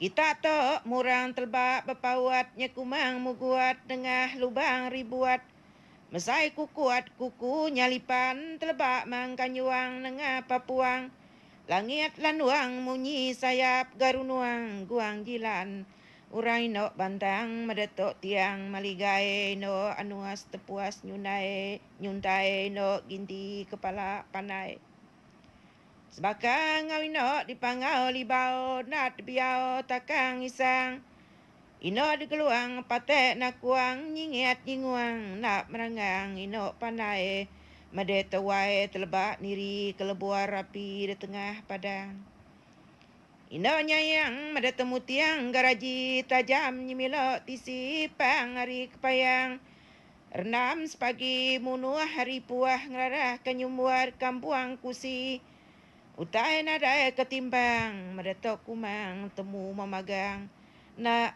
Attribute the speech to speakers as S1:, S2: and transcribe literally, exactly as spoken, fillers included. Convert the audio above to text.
S1: Kita tu murang teleba bepaut nyekumang muguat nengah lubang ribuat. Mesai kukuat kuku nyalipan teleba mangka nyuang nengah papuang. Langit lanuang munyi sayap garunuang guang jilan. Orang ino bantang medetok tiang maligai ino anuas tepuas nyunai nyuntai ino ginti kepala panai. Sebaka ngau ino dipangau libau nat biau takang isang. Ino dikeluang patek nakuang nyingiat nyinguang nak meranggang ino pandai. Mede tewai telebak niri kelebuar api di tengah padang. Ino nyayang mede temu tiang garaji tajam nyemilo tisi pang hari kepayang. Rendam sepagi munuh hari puah ngelarah kenyumbuar kampuang kusi. Utai nadai ketimbang, medetok kumang temu memagang. Nak